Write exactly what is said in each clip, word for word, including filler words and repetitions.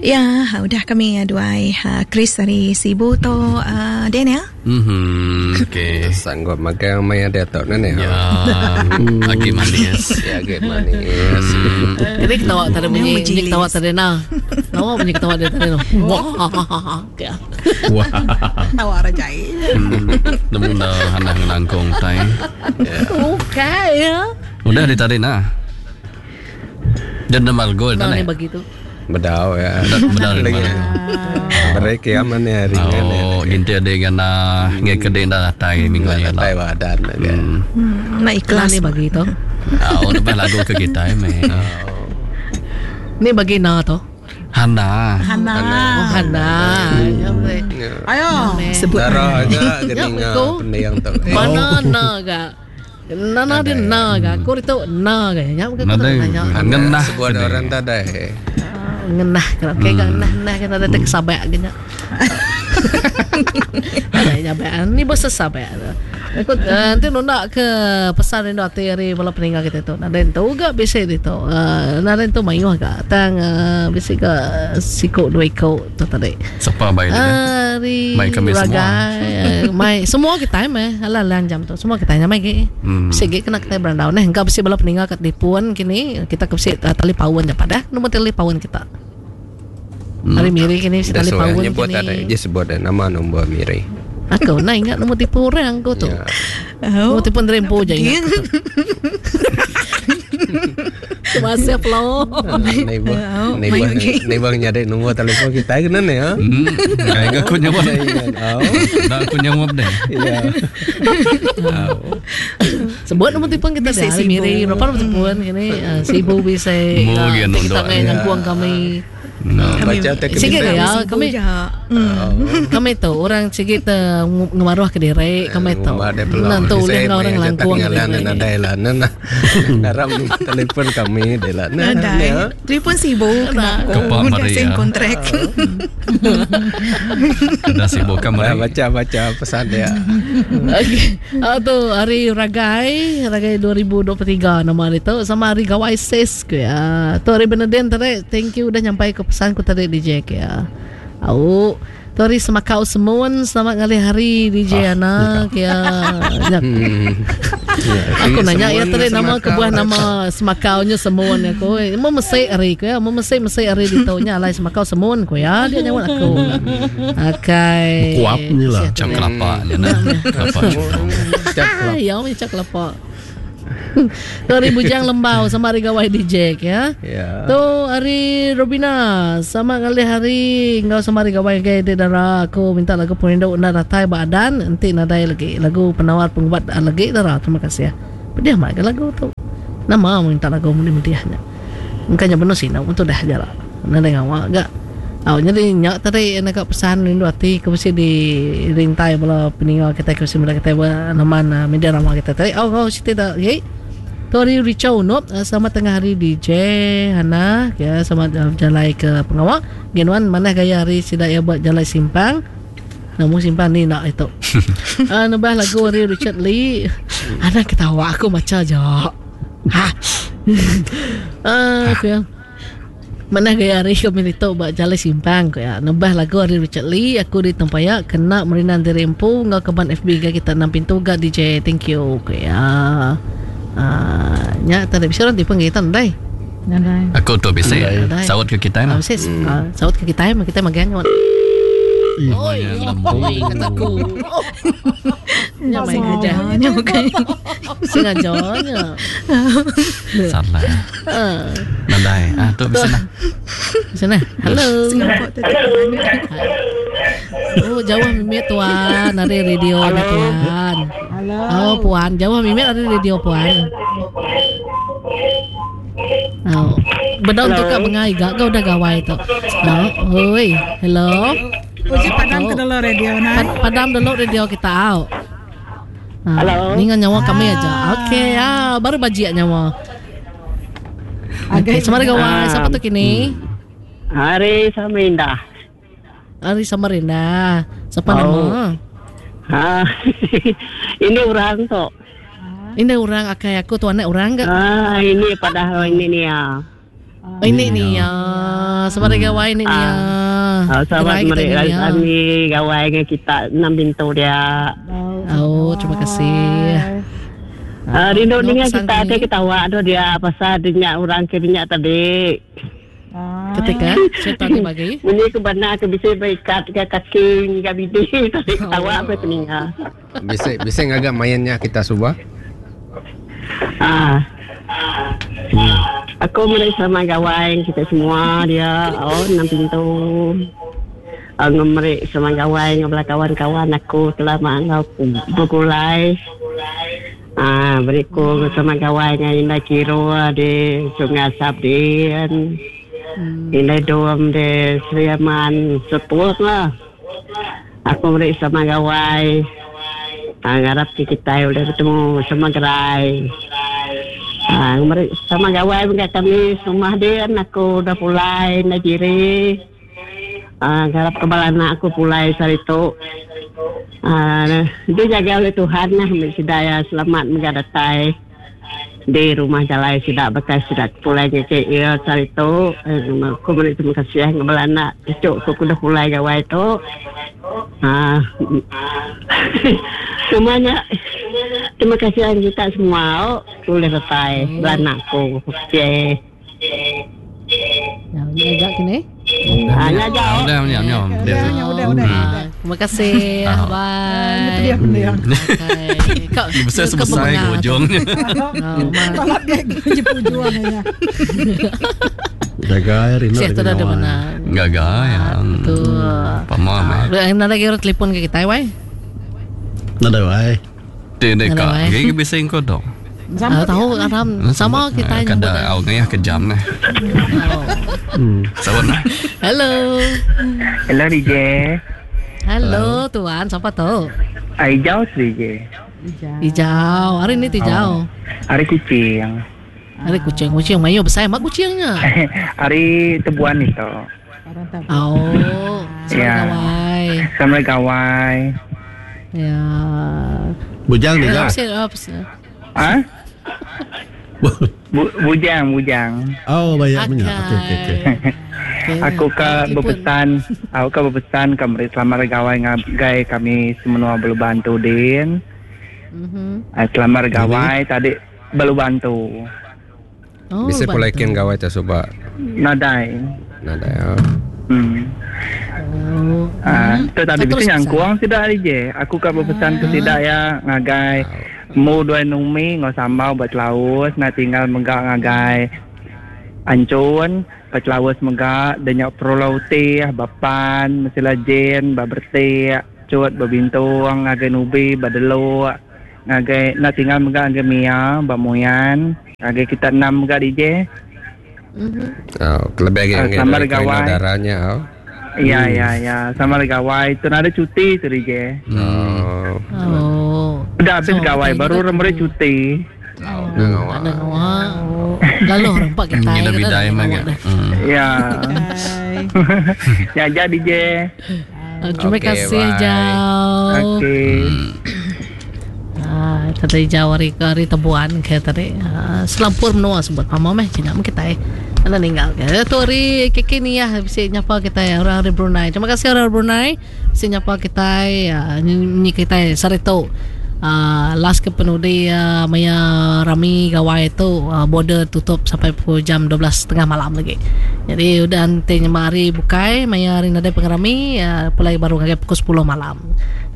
Ya, udah kami duai Chris dari Sibu tu uh, Daniel. Mhm, okey. Sanggup makan maya dia tu nene. Ya, lagi manis. Ya, lagi manis. Jadi ketawa tadi bunyi, bunyi ketawa tadi nah. Tawa bunyi ketawa dia tadi. Wah. Wah. Tawa rajai. Nemu dah hanang nangkong tai. Okey ya. Udah di tadi nah. Dan nama gol Nah, tadi. ni begitu. Bedau ya. Bedau lagi. Mereka yang mana hari ni? Oh, ginti ada gana ngai kedai dah datai minggu ni lah. Datai wadan lagi. Nak ikhlas ni bagi tu. Oh, lepas lagu ke kita meh. Ni bagi na tu. Hana. Hana. Oh, Hana. Ayo. Sebut Dara agak keninga pendiang tu. Mana na ga? Nana dia na ga. Aku itu na ga. Nyam ke nanya. Ngenah sebuah orang tadai. Ngenah kalau kayak hmm. ngenah ngenah kan ada tek sabak gini. Ada nyabak ni bos sabak. Aku nanti nunda ke pesan rindu hati hari bala peninggal kita tu. Nada tu juga bisa itu. Nada tu mayuh ga tang bisa ke siko dua iko tu tadi. Siapa baik dia? Hari mai kami semua. Mai semua kita meh. Alah lang jam tu semua kita nyamai ge. Bisa ge kena kita berandau neh. Enggak bisa bala peninggal kat dipuan kini kita ke bisa tali pawan je pada nombor tali pawan kita. Hari miri kini bisa tali pawan kini. Ada dia sebut ada nama nombor miri. Aku nak ingat nombor tipu orang aku tu. Ya. Nombor tipu rempo je ingat. Terima kasih lo. Neighbor, neighbor, neighbor nyari nombor telefon kita kena ni ya. Enggak aku nyawab. Enggak aku nyawab deh. Ya. Sebut nombor telefon kita dah. Hari miri berapa nombor telefon kini? Sibu bisa. Kita ngangkuang kami. No, baca tak sikit ya kami kami tu orang sikit ngemaruh ke diri kami tu nanti ulih orang langkuang nadai lah nana naram telefon kami deh lah nadai telefon sibuk kena aku sign kontrak dah sibuk kami baca baca pesan dia. Okey, tu hari Ragai Ragai dua ribu dua puluh tiga nama itu sama hari Gawai Ses ke ya. Tu hari Beneden tadi thank you udah nyampai ke pesan ku tadi D J ke ya. Au, tu hari Semakau Semun, selamat ngalih hari D J Ana ke ya. Aku nanya ya tadi nama kebuah nama Semakaunya Semun aku. Mau mesik hari ku ya, mau mesik mesik hari ditonya alai Semakau Semun ku ya, dia nyawat aku. Okey. Kuap ni lah, cap kelapa ni nah. Kelapa. Ya, cap kelapa. Tu hari Bujang Lembau sama hari Gawai D J ya. Yeah. Tu hari Robina sama ngalih hari ngau sama hari Gawai ke dara aku minta lagu perindu nak datai badan nanti nadai lagi lagu penawar pengubat lagi dara terima kasih ya. Pedih mak ke lagu tu. Nama minta lagu muni mediahnya. Mungkin benar sih nak untuk dah jarak. Nadai ngawak gak. Oh, jadi nyak tadi nak pesan rindu hati ke mesti di rintai bala peninggal kita ke mesti kita naman media ramah kita tadi. Oh, oh cerita tak. Okay. Tu hari Richard Unop selamat tengah hari D J Hana ya selamat jalan ke pengawak. Genuan mana gaya hari sidak ya buat jalan simpang. Namun simpang ni nak itu. Ah nambah lagu hari Richard Lee. Ana ketawa aku baca je. Ha. Ah aku ya. Mana gaya hari kami itu buat jalan simpang ko ya. Nambah lagu hari Richard Lee aku di Tempayak kena merinan diri empu ngau keban F B ga kita enam pintu ga D J thank you ko ya. Ah nya tak ada bisa orang tipe kita ndai. Ndai. Aku tu bisa. Saut ke kita mah. Bisa. Saut ke kita mah kita magang. Oi, oi kataku. Nya main aja. Nya bukan. Sengaja nya. Salah. Nadai. Ah tu bisa nah. Bisa nah. Halo. Singapura tu. Oh, jauh mimit tuan, ada radio ni tuan. Halo. Oh, puan, jauh mimit ada radio puan. Oh. Bedong tu kak bengai gak kau udah gawai tu. Oh, oi, hello. Uji padam ke dulu radio nah. Padam dulu radio kita au. Halo. Ni nyawa kami aja. Okey, ah baru bajiak nyawa. Okey, sama gawai siapa tu kini? Hari Samarinda. Hari Samarinda. Siapa oh. nama? Ha. Ini orang tu. Ini orang akai aku tu anak orang ke? Ah, ini padahal ini ni ya. Oh, ini ni ya. Selamat gawai ni ya. Ah, selamat meri kami gawai dengan kita enam pintu dia. Oh, terima kasih. Ah, rindu dengar kita ada ketawa tu dia pasal dinyak orang ke dinyak tadi. Ketika cerita ni bagi. Ini ke benar ke bisa berikat ke kaki ke bidi tadi ketawa apa telinga. Bisa bisa ngagak mainnya kita subah. Ah. Hmm. Aku mulai sama gawai kita semua dia. Oh, enam pintu. Uh, ngemeri sama gawai ngabla kawan-kawan aku telah mangau bergulai. Ah, beriku sama gawai dengan Indah Kiro di Sungai Asap di hmm. Indah Dom di Sri Aman sepuh lah. Aku beri sama gawai. Ah, ngarap kita boleh bertemu sama gerai. Ah, beri sama gawai dengan kami semua dia aku dah pulai Najiri. Ah, ngarap kebal anak aku pulai sehari tu. Ah, dia jaga oleh Tuhan lah, sedaya selamat mengadatai di rumah jalai sidak bekas sidak pulai ngecek ia sehari tu. Aku beri terima kasih kebal anak cucu aku dah pulai gawai tu. Ah, semuanya terima kasih kita semua. Boleh datai beranak aku. Okey. Ya, ni agak kini. Ah, ni agak. Udah, udah, udah. Udah, udah. Terima kasih. Bye. Kau besar sebesar ke ujungnya. Kalau dia ujungnya. Gagal rindu. Siapa tu ada mana? Gagal ya. Betul. Pamam. Nak lagi orang telefon ke kita, wai? Nak ada wai. Tidak kak. Gigi bisa ingkau dong. Ah, tahu aram sama kita yang kada au ngayah ke jam nah. Sawan nah. Hello. Hello D J. Hello tuan, siapa tu? Hijau D J. Hijau. Hari ni hijau. Hari kucing. Hari kucing, kucing mayo besar mak kucingnya. Hari tebuan itu. Oh, ya. Gawai. Sama gawai. Ya. Bujang ni kah? Ah? Bu, bujang, bujang. Oh, banyak punya. Okey, okey, okey. Aku ke berpesan, aku ke berpesan ke meri selamat gawai ngagai kami semua belu bantu din. Mhm. Selamat gawai tadi belu bantu. Oh, bisa pulaikin gawai tak subak. Nadai. Nadai. Oh. Hmm. Oh. Ah, tu tadi bisa nyangkuang tidak je. Aku ke berpesan ke tidak ya ngagai. Mu dua numi ngau sambal buat laus nak tinggal menggak ngagai ancun buat laus menggak denyak prolauti bapan mesti jen baberti cut babintung ngagai nubi badeluk ngagai nak tinggal menggak ngagai mia bamuyan ngagai kita enam menggak D J. Oh, lebih lagi sama gawai darahnya oh. Ya ya ya sama gawai tu ada cuti tu D J. Oh. Oh. Udah habis so, gawai baru remere cuti. Oh, oh. Lalu rempak kita. Kita bidai mah. Ya. Ya jadi D J. Terima kasih jauh. Okey. Ah, tadi jauh hari hari tebuan ke tadi. Selampur menua sebut pamah meh cina kita. Anda ninggal ke. Tu hari kiki ni ya bisa nyapa kita ya orang hari Brunei. Terima kasih orang Brunei bisa nyapa kita ya ni kita sarito. Uh, last ke penudi uh, maya rami gawai tu uh, border tutup sampai pukul jam dua belas tiga puluh malam lagi. Jadi udah nanti hari bukai maya hari nadai pengerami uh, pulai baru ngagai pukul sepuluh malam.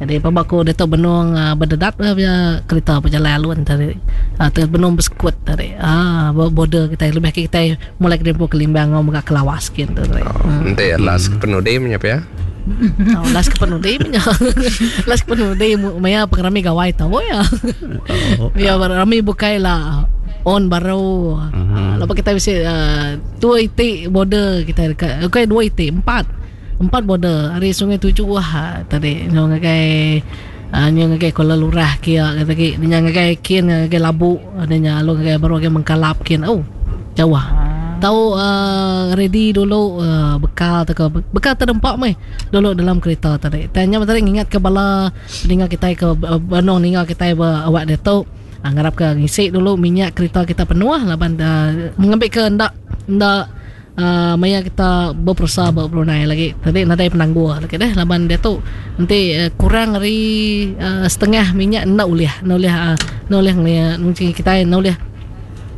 Jadi pabaku dia tu benung uh, berdedat uh, kereta berjalan alun tadi. Uh, benung bersekut tadi. Ah uh, border kita lebih kita mulai ke ke Limbang ngau megak kelawas gitu tadi. Oh, hmm. Nanti last ke penudi menyapa ya. Oh, last ke penudi punya. Last ke penudi maya pengerami gawai tahu ya. Ya rami bukai lah on baru. Uh-huh. Lepas kita bisa uh, dua itik border kita dekat. Okey dua itik empat. Empat border hari Sungai Tujuh wah tadi nyo ngagai uh, nyo ngagai Kuala Lurah kia kata ki nyo ngagai kin ngagai Labu adanya lalu ngagai baru ngagai Mengkalap kin. Oh jauh. Tahu uh, ready dulu uh, bekal atau ke bekal terdempak meh dulu dalam kereta tadi. Tanya tadi ingat ke bala ningal kita ke uh, banong ningal kita be awak dia tu uh, ngarap ke ngisi dulu minyak kereta kita penuh laban uh, mengambil ke ndak ndak uh, maya kita berpersa ba Brunei lagi. Tadi nadai penangguh lagi deh laban dia tu nanti uh, kurang dari uh, setengah minyak nak ulih, nak ulih uh, nak ulih mungkin kita nak ulih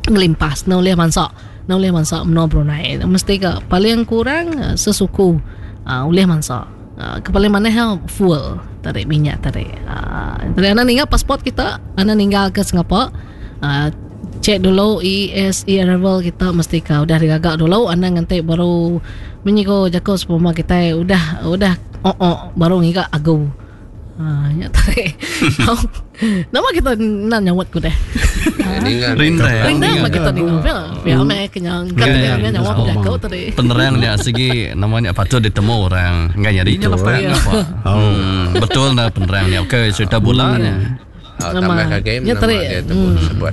ngelimpas, nak ulih mansak, nak ulih mansak menua Brunei. Mesti ke paling kurang uh, sesuku uh, ulih mansak. Uh, ke paling mana fuel tarik minyak tarik. Uh, tadi anda ninggal pasport kita, anda ninggal ke Singapura. Uh, cek dulu E S E arrival kita mesti kau udah digagak dulu, anda nanti baru menyiko jako sepoma kita udah udah oh oh baru ngigak agu. Ah, ya tarik. Nama kita nak nyawat ku deh. Rindang. Rindang mah kita ni. Ya meh kenyang kan dia nyawa ku jako tadi. Penerang dia segi namanya patut ditemu orang enggak nyari itu. Oh, betul dah penerang dia. Okey, cerita bolanya. Oh, tambah kaki nama dia tersebut.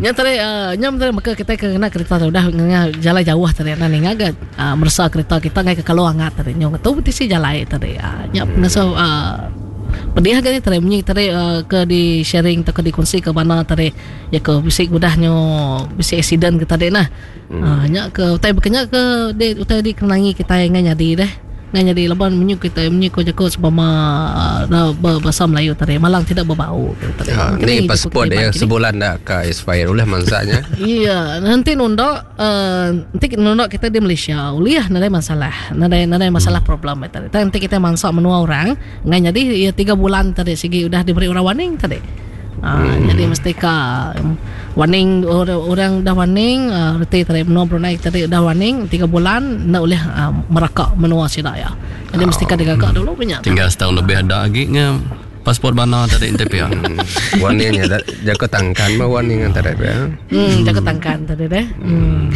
Nya tadi nya tadi maka kita kena kereta udah jalan jauh tadi nak ni ngagat merasa kereta kita ngai ke kalau hangat tadi. Nya tu mesti jalan tadi. Nya ngaso pedih kan tadi bunyi tadi ke di sharing atau ke dikongsi ke mana tadi ya ke bisik udahnya bisik accident ke tadi nah. Nya ke utai bekenya ke de utai dikenangi kita ngai nyadi deh. Ngai nyadi laban menyu kita menyu ko jako sebama bahasa Melayu tadi malang tidak berbau tadi. Ha, ni pasport dia sebulan dah ke expire oleh mangsanya. Iya, nanti nunda uh, nanti nunda kita di Malaysia uliah nadai masalah. Nadai nadai masalah hmm. problem tadi. Nanti kita mansak menua orang ngai nyadi ya tiga bulan tadi segi udah diberi orang warning tadi. Ha, hmm. Jadi mesti ka warning orang, orang dah warning uh, reti tadi menua Brunei tadi dah warning tiga bulan nak boleh uh, merakak menua sida ya. Jadi oh. mesti ka digagak dulu punya. Tinggal setahun lebih ada lagi nya pasport bana tadi N T P ya. Warningnya jaga tangkan mah warning tadi ya. Hmm, jaga tangkan tadi deh. Hmm.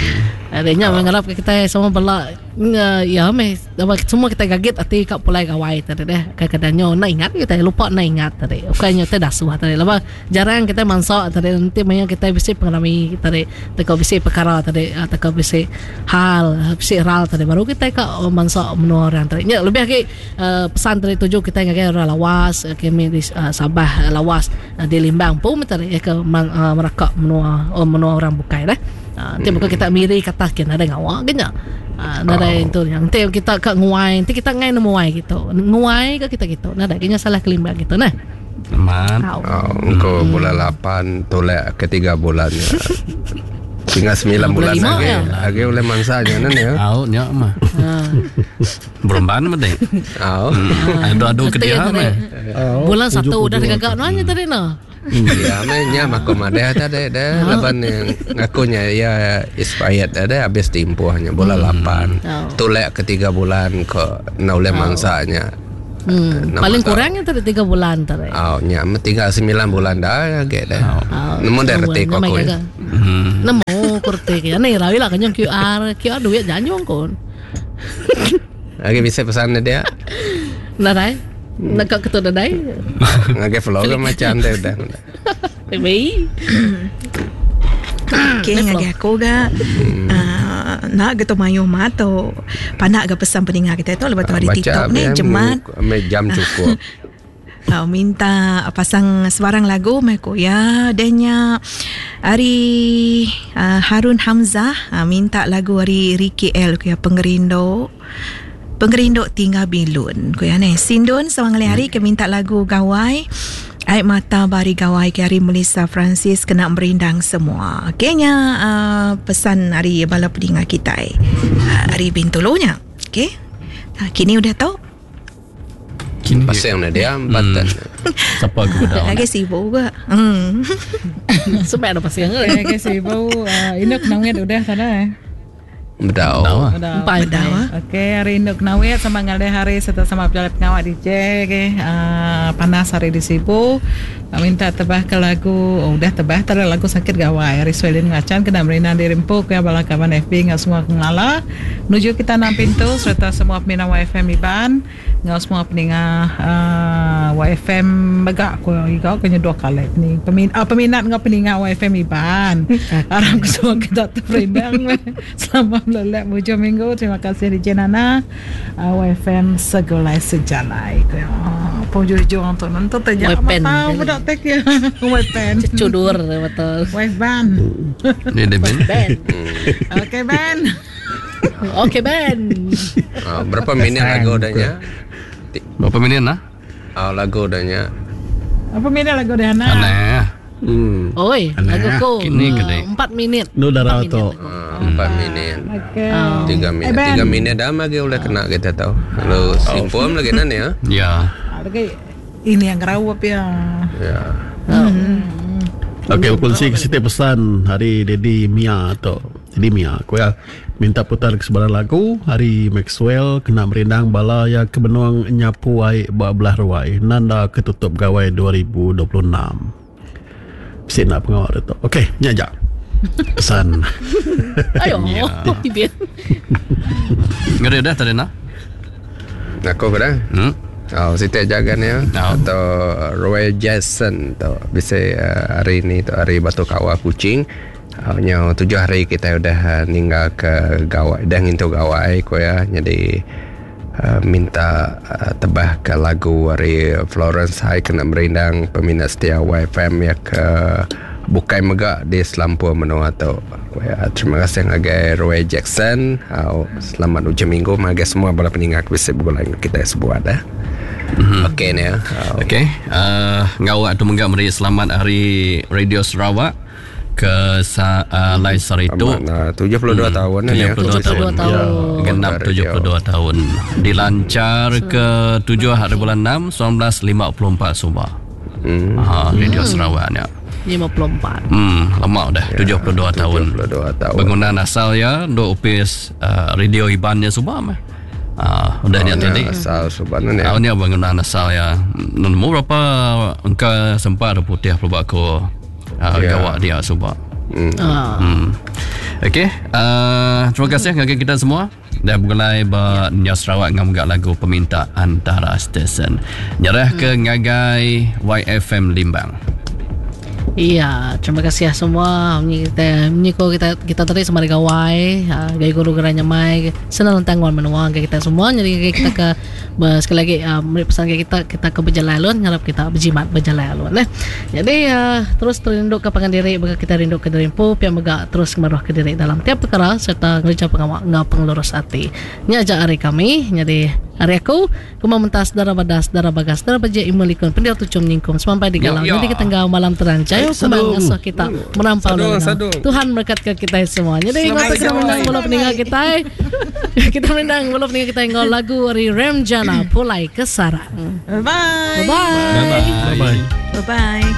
Adanya oh. mengharap kita semua bela ya meh semua kita kaget ati kat pulai gawai tadi deh. Kadang-kadangnya nak ingat kita lupa nak ingat tadi. Bukannya kita dasuh tadi. Lepas jarang kita mansak tadi nanti maya kita bisi pengalami tadi teka bisi perkara tadi teka bisi hal bisi ral tadi baru kita kat mansak menua orang tadi. Ya lebih lagi uh, pesan tadi tuju kita ngagai orang lawas kami di uh, Sabah lawas uh, di Limbang pun tadi ya ke man, uh, merakak menua oh, menua orang bukai dah. Uh, nanti bukan kita miri kata kena ada ngawak kena. Ah, uh, nada itu yang nanti kita kat nguai, nanti kita ngai nemu wai gitu. Nguai ke kita gitu. Nada kena salah kelimbang gitu nah. Man. Oh, engkau hmm. bulan lapan tolak ke tiga bulan ya. Tinggal sembilan bulan lagi. Ya. Lagi oleh mangsanya nan ya. Au nya mah. Berumban mah deh. Au. Adu-adu ke dia mah. Bulan satu udah digagak nanya tadi nah. Ya, nya mah komade tadi deh laban yang ngakunya ya expired ada habis tempohnya bulan lapan. Tolak ke tiga bulan ke na oleh mangsanya. Hmm. Paling kurangnya tadi tiga bulan tadi. Oh, nya tinggal sembilan bulan dah ge dah. Nemu dah reti kok aku. Nemu kurti ya ni rawi lah kan Q R Q R duit janjung kon. Lagi bisa pesan dia. Nadai. Nak kat ketua dadai. Ngagai vlog macam dah dah. Baby. Okey, ngagai aku ga. Uh, nak geto mayuh mato. Panak ga pesan pendengar kita tu lepas tu hari TikTok ni jemat. Jam cukup. Uh, minta pasang sebarang lagu meko ya denya hari uh, Harun Hamzah uh, minta lagu hari Ricky L ku ya Pengerindu. Pengerindu tinggal bilun ku ya ni Sindun sewang hari ke minta lagu Gawai Air Mata Bari Gawai ke hari Melissa Francis kena merindang semua. Okeynya uh, pesan hari bala pendengar kita uh, hari Bintulunya. Okey. Uh, kini udah tahu. Kini pasang na dia batan. Siapa aku dah. Lagi sibuk ke. Hmm. Sebab ada pasang. Lagi sibuk. Induk nangit udah sana. Bedau. Bedau. Bedau. Okey, hari induk nawet sama ngalih hari serta sama berjalan pengawak D J okey. Uh, panas hari di Sibu. Minta tebah ke lagu, oh, udah tebah tadi lagu sakit gawai. Hari Swelin ngacan kena merina di Rimpu ke bala kawan F B ngau semua kenala. Menuju kita enam pintu serta semua peminat Y F M Iban, ngau semua peninga uh, Y F M megak ko igau kena dua kali ni. Pemin, uh, peminat ngau peninga Y F M Iban. Harap semua kita terperindang selama lelak hujung minggu. Terima kasih D J Nana. Uh, Y F M segulai sejalai. Oh, penghujung tu nanti terjadi apa budak tek ya. Wepen. Cudur betul. Wepen. Ni dia Ben. Okey Ben. Okey Ben. Ah, berapa minit lagu dahnya? Berapa minit nah? Ah, lagu dahnya. Apa minit lagu dia Ana? Aneh. Hmm. Oi, lagu ku. Kini ah, kedai. Empat minit. Nu darah tu. Ah, empat minit. Okey. Tiga minit. Eh, Ben. Tiga minit dah lagi boleh kena kita tahu. Lalu simpul lagi nan ya. Ya. Ah, Lagi ini yang gerawap ya. Ya. Okey, berkongsi ke setiap pesan hari Daddy Mia tu. Daddy Mia, aku ya minta putar ke sebarang lagu hari Maxwell kena merindang bala ya ke benuang nyapu ai ba belah ruai nanda ketutup gawai dua ribu dua puluh enam. Bisik nak pengawal dia tu. Okey, ni aja. Pesan. Ayo, Ya. Ben. Ngeri dah tadi nah. Aku ke dah? Hmm. Oh, Siti jaga ni ya. Oh. Atau Roy Jackson tu. Bisa uh, hari ni tu hari Batu Kawah Kuching. Uh, nyo tujuh hari kita udah uh, ninggal ke gawai, dah ngintu gawai ko ya. Jadi uh, minta uh, tebah ke lagu hari Florence High kena merindang peminat setia Y F M ya ke bukai megak di Selampur menua tu. Ya, terima kasih ngagai Roy Jackson. Uh, selamat hujung minggu ngagai semua bala peninggal bisa bergulai dengan kita sebuah dah. Mm-hmm. Okey ni ya. Uh, Okey, uh, ngawak tu menggak meri selamat hari Radio Sarawak ke sa, uh, Lai Saritu. Amat, uh, tujuh puluh dua tahun ni ya. tujuh puluh dua tahun. tujuh puluh dua tahun. Genap tujuh puluh dua tahun. Dilancar ke tujuh hari bulan enam seribu sembilan ratus lima puluh empat subah. Hmm. Ha, Radio Sarawak ni. lima puluh empat. Hmm, lama dah Ya, tujuh puluh dua tahun. tujuh puluh dua tahun. Bangunan asal ya dok upis uh, radio Ibannya subah mah. Ah, udah Oh, ni tadi. Asal subah ni. Ah, ni bangunan asal ya. Nemu berapa engkau sempat ada putih pelubak aku uh, Ya. gawak dia subah. Hmm. Ah. Hmm. Okey, uh, terima kasih kepada kita semua. Dan bergulai ba Nya Sarawak ngam gak lagu peminta antara stesen. Nyerah ke ngagai Y F M Limbang. Iya, terima kasih ya semua. Ni kita ni ko kita kita tadi sama gawai, ah, gaya guru geranya mai, senang tangguan menua gaya kita semua. Jadi gaya kita ke ber- sekali lagi ah, beri pesan gaya kita kita ke berjalan alun, ngarap kita berjimat berjalan alun eh. Jadi ah, terus terinduk ke pangan diri, bagi kita rinduk ke diri empu, pia mega terus kemaruh ke diri dalam tiap perkara serta ngerja pengawak ngau pengelurus hati. Ni aja hari kami. Jadi hari aku kuma mentas darah badas darah bagas darah baja imulikun pendiau tucum nyingkum sampai di galau. Ya, ya. Jadi kita tengah malam terang jaya Sadung. kumang ngasuh kita merampau Sadung, dalam. sadung. Tuhan berkat ke kita semua. Jadi Selamat ngapa kita gawai. menang bola peninggal kita. Kita menang bola peninggal kita ngau lagu dari Remjana Pulai ke Sarang. Bye. Bye bye. Bye bye. Bye-bye.